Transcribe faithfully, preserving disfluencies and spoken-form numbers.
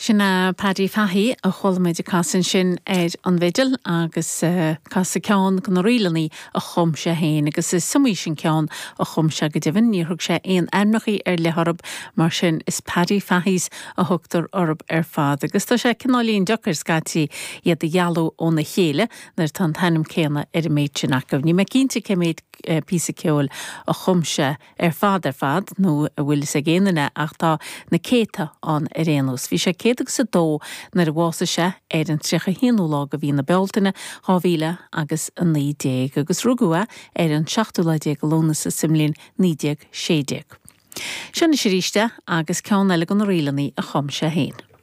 Sin é Paddy Fahey a chuala muid ag casadh ansin ar an bhfidil agus uh, casadh ceann de na ríleanna a chum sé féin agus is iomaí sin ceann a chum sé go deimhin níor thug sé aon ainmneacha ar leith orthu mar sin is Paddy Fahy's a thugtar orthu ar fad agus tá sé cineáilín deacair scaití iad a dhealú óna chéile nuair atá an t-ainm céanna ar an méid sin acu. Níl mé cinnte cé mhéad eh, píosa ceoil a chum sé ar fad ar fad nó a bhfuil ag éana ach tá na céadta ann ar aon nós. Bhí sé céad agus a dó nuair a bhásaigh sé ar an tríocha haonú lá de mhí na Bealtaine dhá mhíle agus a naoi déag agus rugadh é ar an seachtú lá déag Lúnasa sa mbliain naoi déag sé déag. Sin arís agus ceann eile de na ríleanna a chum sé féin.